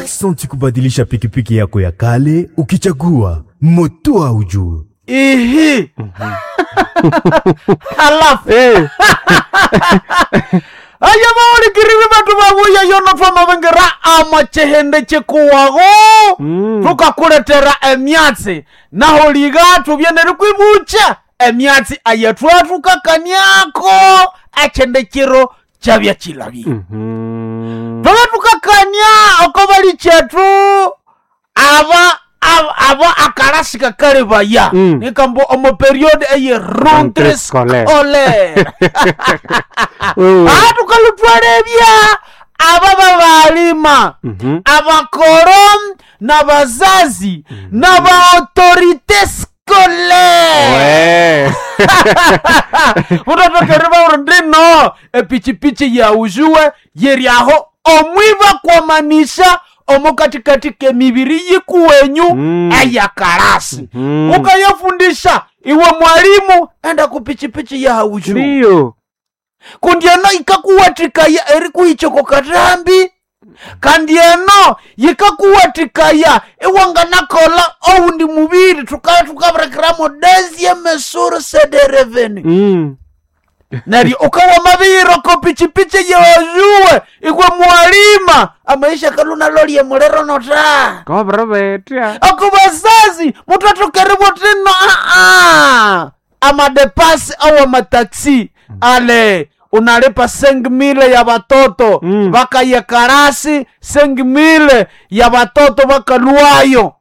Aksanti kubadilisha pikipiki yako ya kale ukichagua moto haujue. Ihi. Halafu Eh, aya bawulikirire bandu babuya yono twamabengira amachihindi chikuwago tukakuletera emyatsi naho liga tubyenere kwibucha emyatsi ayetwathukakaniako echindi chiro chabya chilabye. Twaba tukakania oko bali chetu aba aba akalasi kakali baya nikambo omo period eye rentrée Rentrée scolaire. scolaire. Wewe. Tukalutwalebya aba babalima, abakoro na bazazi na baautorité scolaire. We. Utotokere bauri ndino epichipichi yauzuwe yeryaho omwiba kwamanisha omo katikati kemibiri yikuwenyu eyakarasi. Ukayafundisha iwe mwalimu enda kupichipichi yahauzuwe Ndiyo. kundi eno ikakuwatikaya erikuhichoko katambi, kandi eno yikakuwatikaya iwanganakola owundi mubiri tukaya tukabirekeramu deuxième source de revenu. Neryo ukawa mabiyiroko pichipichi yewazuwe ikwe mwalima amaisha kalunalolie mulero nota. Kobrebetya. Akubazazi mutatokeribwa tino aa amadepasi au amataksi ale unalipa 5000 ya batoto bakaye karasi 5000 ya batoto bakaluayo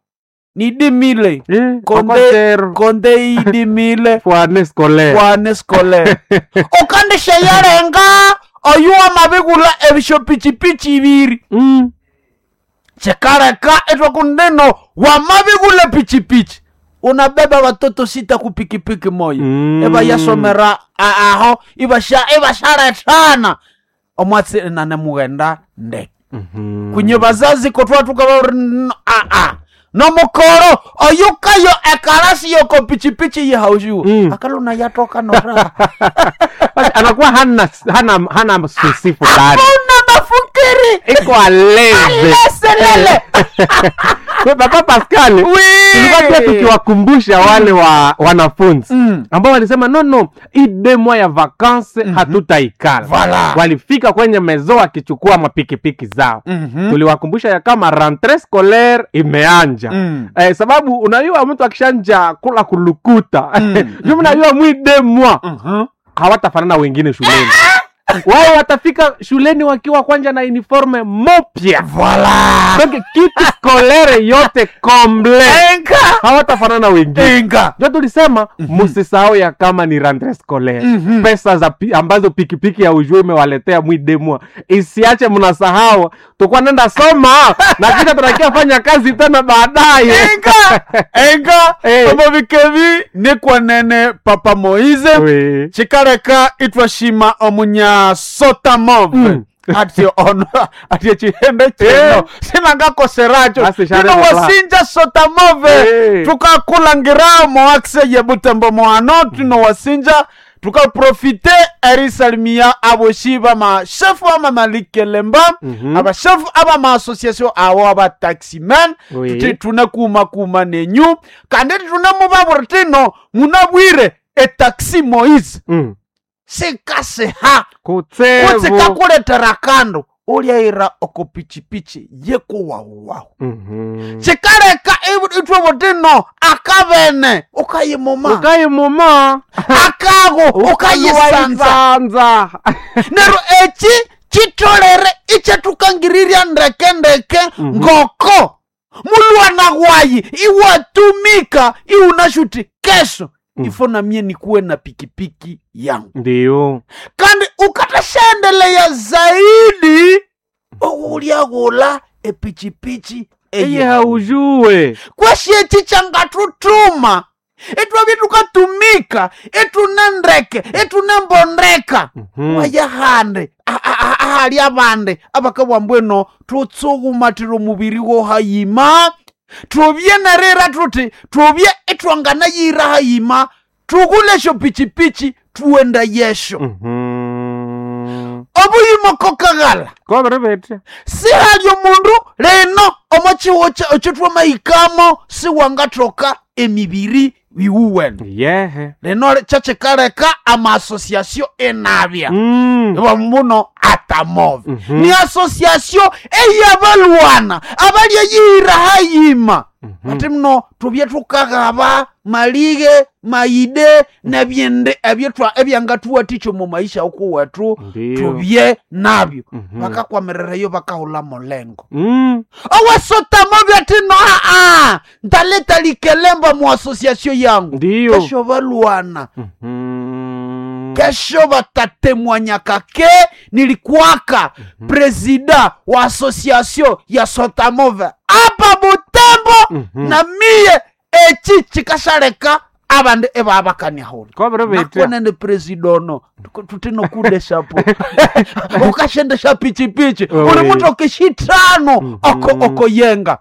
ni 10000. Eh, Konde okotero. konde idi mile Fwane scolaire. kwane scolaire ukandisha yarenga oyu wamabigula ebisho pichipichi ibiri. Chikareka etwakundino wamabigula pichipichi unabeba watoto sita kupikipiki moya. Eba yasomera aho ibasha ibasharetana omwatsi nane mughenda ndeke. Kunye bazazi kotwa tukaba aa nomukoro oyukayo ekarasi yoko pichipichi yehauziwe. Akaluna yatoka nora. Basi anakuwa hana susi fulani. Hakuna mafikiri. Iko aleze. Aleselele. We, Papa Pascal, tulikuwa pia tukiwakumbusha wale wa wanafunzi ambao walisema no no, hii deux mois ya vacances hatutaikala. Voilà. Walifika kwenye mezo wakichukua mapikipiki zao. Tuliwakumbusha ya kama rentrée scolaire imeanja. Eh, sababu unajua mtu akishanja kula kulukuta mm. Unajua mwi deux mois hawatafanana wengine shuleni. Wao watafika shuleni wakiwa kwanja na uniforme mopya. Voilà. Donc kitu scolaire yote comble. Enga. Hawatafanana wengine. Enga. Ndio tulisema msisahau ya kama ni rentrée scolaire. Pesa za ambazo pikipiki ya ujue imewaletea mwi demwa. Isiache mnasahau. Tukua nenda soma na kisha tunakia fanya kazi tena baadaye. Enga. Enga. Eh. Omo bikebi nikwanene Papa Moize. Oui. Chikareka itwashima omunya sotamove. Ati ono ati chihembe chino Eh. sinangakoseracho Basi share ino baba. wasinja sotamove. Eh. Tukakulangira moakse yebutembo moano tino wasinja tukaprofite erisalimia aboshi bamashefu abamamalikelемba abashefu abamaassociation abo abataximan. Oui. Tuti tune kuma kuma nenyu kandi tune mubaburi tino munabwire etaxi Moise sikasiha Kutsevu. kutsikakuletera kando ulyaira oko pichipichi yekuwawuwawu. Chikaleka itwe butino akabene ukayimuma Ukayimuma. akago ukayisanza. Ukayisanza. Neryo eki chitolere ichetukangirirya ndeke ngoko mulwana wayi iwatumika iunashuti kesho ifo namie nikuwe na pikipiki yangu. Ndiyo. Kandi ukatashaendelea zaidi oulyagula epichipichi Eye eye haujue. kweshieci changatutuma itwavye tukatumika itunendeke itunembondeka. Waya hande ahali abande abakabwambweno tutsugumatira omubiri wohayima tubye nerira tuti tubye itwanganayira hayima tugulesho pichipichi tuenda yesho. Obuyimo kokaghala. Kobrebetya. Sihali omundu Leno omo chiwo ochitwamaikamo siwangathoka emibiri iwuwene. Yehe. Leno kyekikaleka ama-association enabya. Muno atamove. Ni association eyabalwana abalyeyihira hayima. Ati muno tubye tukaghaba malighe maide nebyindi ebyetwa ebyangatuwathikya omu maisha okuwethu. Tubye nabyo. Bakakwamirirayo bakahula mulengo. Owesotamove ati no aa ntaleta likelemba mu association yangu. Ndiyo. Kesho balwana. Kesho batatemwanyaka ke nilikuwaka presida wa association ya sotamove apa Butembo. Na miye echi chikashaleka abandi ebabakaniahula. Kobere betya. Nakonene presidono tutino kudeshapo ukashendesha pichipichi. Uli mutoke shitano oko okoyenga.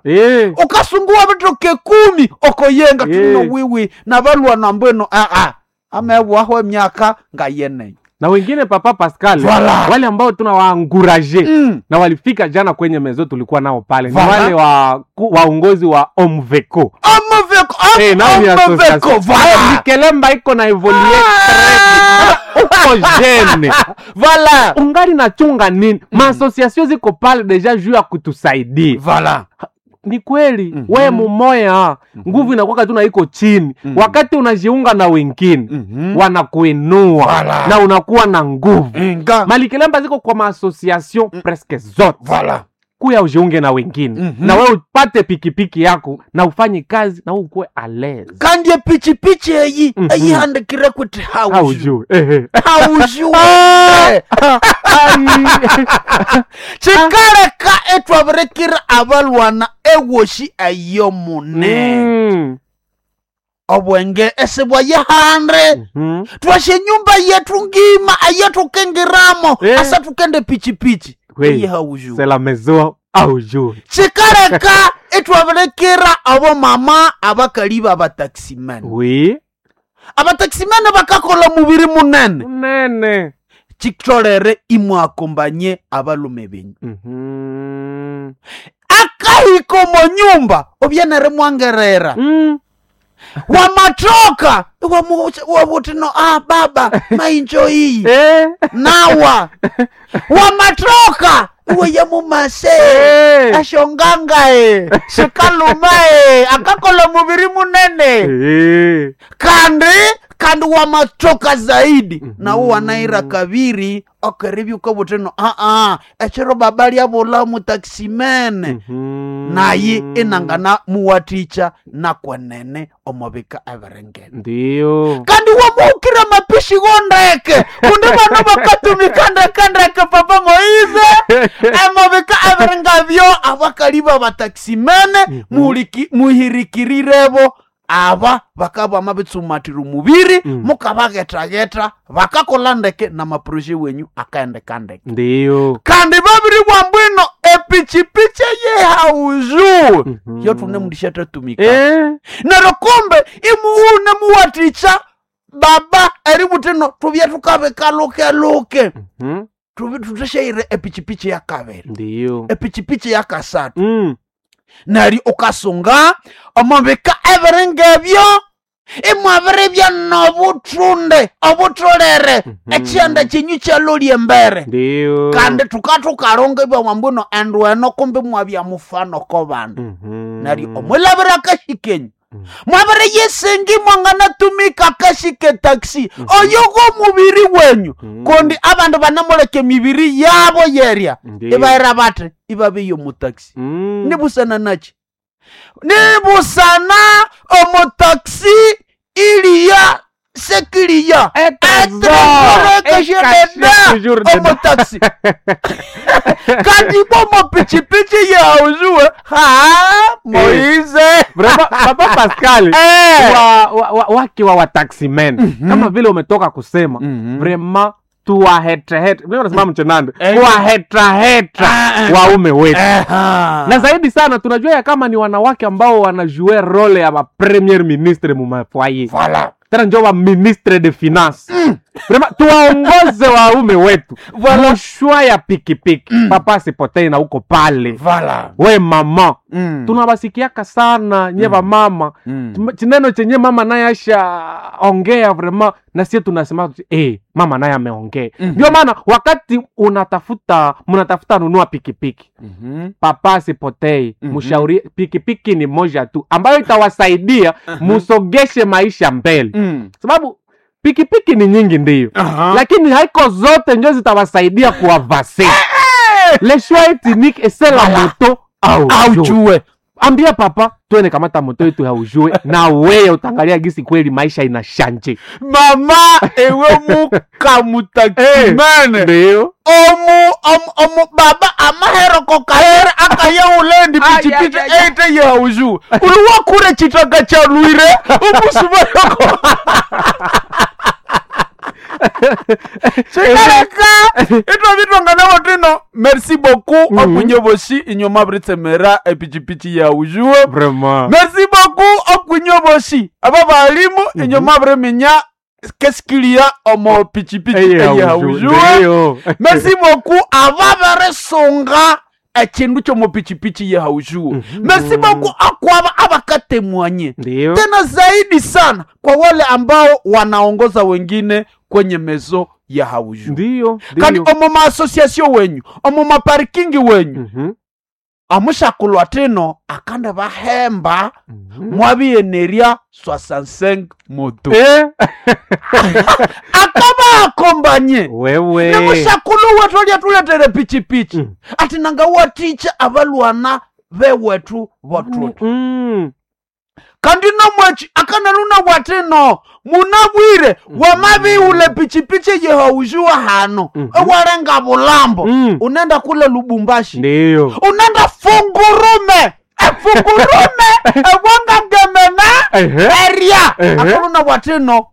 Ukasunguwa bitoke 10 okoyenga. Tuno wiwi nabalwana mbweno aa amebwaho emyaka ngayeneyo. Na wengine papa Pascal. Voilà. Wale ambao tunawaanguraje na walifika jana kwenye mezo tulikuwa nao pale. Ni Voilà. wale wa waongozi wa Omveco. Omveco, Nao ni Omveco, association. voilà. Likelemba iko na evolue très vite. Uko jeune. Voilà. Ungali na chunga nini? Ma association ziko pale deja juu ya kutusaidia. Voilà. Ni kweli we mumoya nguvu inakuwa tu na iko chini. Wakati unajiunga na wengine wanakuinua. Voilà. Na unakuwa na nguvu. Inga. Malikelemba ziko kwa ma-association presque zote. Voilà. Kuya ujiunge na wengine. Na wewe upate pikipiki yako na ufanye kazi na ukuwe à l'aise. Kandi epichipichi eyi eyihandikire kuti hauju. Hauju. Ehe. Hauju. Ai. Chikaleka etwabirekera abalwana ewoshi eyo mune. Obwenge esibwa yehande. Twashe nyumba yetu ngima ayetukengiramo. Asa tukende pichipichi. Oui. Eyi hauju. C'est la maison hauju. Chikaleka etwabirekera abo mama abakali b'abataximene. Oui. Abataximene bakakola mubiri munene. Munene. Chitolere imwakombanye abalume benyu. Akahiko mo nyumba obyenere mwangerera. Wamatoka wabuti no baba mainjo iyi. Nawa. Wamatoka iwe yamumase. Ashonganga shikaluma akakola mubiri munene. Kandi wamatoka zaidi. Na uwo wanaira kabiri okeribyuka buteno echiro baba lyabula mutaximene. Naye inangana muwaticha nakwenene omobika everengene. Ndiyo. Kandi wamuukira mapishi gondeke kundi bano bakatumika ndekendeke papa Moize emobika everengavyo abakali b'abataximene muhirikirirebo aba bakaba mabitsumatira omubiri mukabagetageta bakakola ndeke na maproje wenyu akaendeka ndeke. Ndiyo. Kandi babiri bwambwino epichipichi yehauzu yotune mundisha tatumika. Neryo kumbe imuune muwaticha baba eributino tubye tukabika luke luke. Tutesheire epichipichi ya kabiri. Ndiyo. Epichipichi ya kasatu. Nari ukasunga omubika ebiringebyo imwabiribya nobuthunde obutholere ekyanda kyenyu kyalolya embere. Ndiyo. Kandi tukatukalonga ibwamwambuno endu eno kumbi mwabya mufano ko bandu. Nari omwilabira akashikenyu mwabire yesengi mwanganatumika akashike taxi oyo go mubiri wenyu. Kundi abandu banamuleka emibiri yabo yerya. Ndiyo. Ibaira bati ibabeyo mu taxi. Nibusana nachi nibusana omu taxi iliya sekiliya Toujours dedans. omu taxi kandi bomo pichipichi yauzuwe ha Moize. Vraiment, Papa Pascal, wake wa wataximen kama vile umetoka kusema vraiment tuwahetraheta mimi nasema mchenande kuwahetraheta waume wetu. Na zaidi sana tunajua ya kama ni wanawake ambao wanajue role ya ba premier ministre mu mafoyer. Voilà. Tena njo wa ministre de finance. Vraiment, tuwaongoze waume wetu mushwa ya pikipiki. Papa sipotei na uko pale. Vala. We mama, tunawasikiaka sana nye vamama. Chineno chenye mama naye asha ongea vraiment, na sie tunasema mama naye ameongea. Ndio maana wakati unatafuta mnatafuta nunua pikipiki, papa sipotei, mshauri pikipiki ni moja tu ambayo itawasaidia musogeshe maisha mbele, sababu pikipiki ni nyingi ndiyo, lakini haiko zote njo zitawasaidia kuavase. Le choix est unique et c'est la moto aujue. Aujue. Ambia papa twende kamata moto yetu haujue, na weye utangalia gisi kweli maisha inashanje. Mama ewe mukamutakimene Ndio omu omu omu baba amaheroko kahere akayaulendi pichipichi eite yauju uli wakure chitaka cha lwire umusumayoko chikareka itwa vitongana votino. Merci beaucoup okunye voshi inyo mavritsemera epichipichi yaujue. Vraiment. Merci beaucoup okunye voshi aba balimu inyo mavriminya keskilia omo pichipichi eyaujue. Ndio. Merci beaucoup avaveresunga echindu chomopichipichi yahaujuo. Merci beaucoup akwava avakatemwanye. Ndio. Tena zaidi sana kwa wale ambao wanaongoza wengine kwenye mezo ya haujuo. Ndio. Kandi Ndio. omo maasosiasio wenyu, omo maparikingi wenyu, amushakulwa tino akande vahemba mwaviyenerya 65 moto akava akombanye Wewe. nemushakulu wetu alya pichipichi ati nanga waticha avalwana vewetu votutu. Kandi nomwechi akanaluna watino munabwire wamaviule pichipichi yehaujuwa hano, ewalenga bulambo, unenda kule Lubumbashi, Ndio. unenda fungurume, efungurume ewanga ngemena Ehe. eria. Ehe. Akaluna watino.